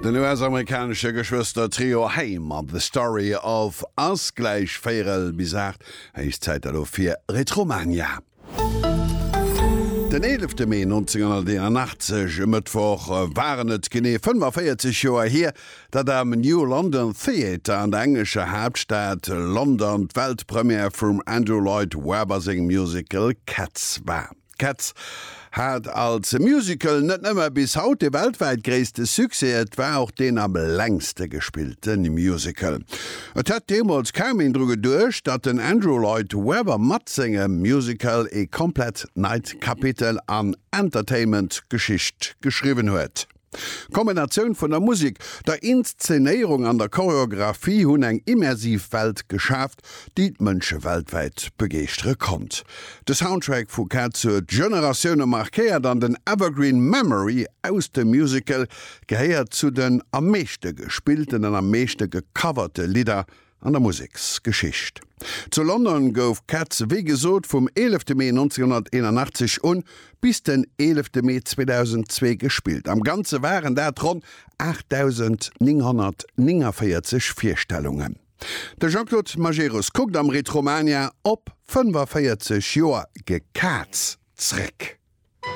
Den US-amerikanesche Geschwëster-Trio Haim mat The Story of Us. Gläich véierel bis 8, héich Zäit elo fir Retromania. Den 11 Mee 1981, e Mëttwoch, waren et genee 45 Joer hier, datt am New London Theatre an der englescher Haaptstad London d'Weltpremière vum Andrew Lloyd Webber sengem Musical Cats war. Cats hat als Musical net nëmme bis haut de weltwäit gréisste Succès, et war och deen am längste gespillte Musical. Et hätt deemools kaum een dru geduecht, datt den Andrew Lloyd Webber mat sengem Musical ee komplett neit Kapitel an Entertainment-Geschicht geschriwwen huet. D'Kombinatioun vun der Musek, der Inszenéierung an der Choreographie hunn eng immersiv Welt geschaaft, déi d'Mënsche weltwäit begeeschtere konnt. De Soundtrack vu Cats huet Generatioune markéiert an den Evergreen Memory aus dem Musical gehéiert zu den am meeschte gespillten an am meeschte gecoverte Lidder an der Museksgeschicht. Zu London gouf Cats wéi gesot vum 11 Mee 1981 un bis den 11 Mee 2002 gespillt. Am Ganze waren dat ronn 8.949 Virstellungen. De Jean-Claude Majerus kuckt am Retromania op 45 Joer Gekaz zréck.